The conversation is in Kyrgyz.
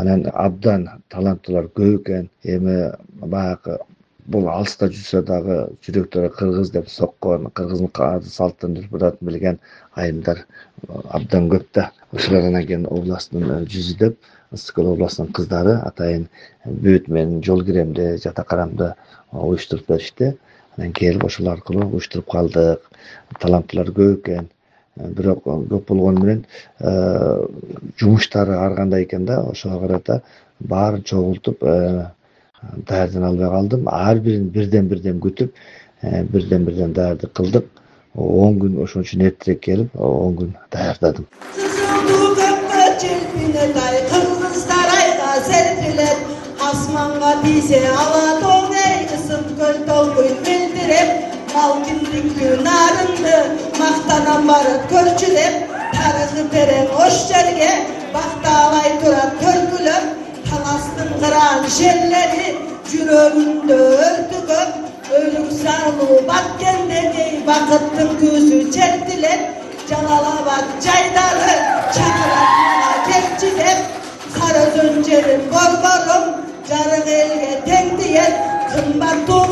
Анан абдан таланттуулар көп экен. Эми баягы бул алыста жүрсө дагы жүрөктөрү кыргыз деп соккон, кыргыздын салттын үрп-адатын билген айымдар абдан көп да. Ошолор анан кийин областтын жүзү деп Ысык Көл областынын кыздары атайын бүт мен жол киремди, жата карамды уюштуруп беришти. Анан келип ошол аркылуу уюштуруп калдык. Таланттуулар көп экен. Бирок көп болгону менен жумуштары ар кандай экен да, ошого карата баарын чогултуп даярдана албай калдым. Ар бирин бирден күтүп, бирден даярдык кылдык. 10 күн ошон үчүн эртерээк келип, 10 күн даярдадым. Кыргыздар айга серпилет, асманга тийсе ала тоң эй, Ысык Көл толкуйт мелдиреп, малкиндиктүү нарынды мактанам барып көрчүлеп, тарыхы терең ош жерге бакталай турат көркүлөп, таластын кыран шерлери жүрөгүндө өртүгөп, өлүк салуу баткендеги бакыттын көзү чертилет, Жалал-Абад жайдары чакырат кепчилеп, Сарыөзөн жерин борборум жарык элге тең диет, кымбаттуу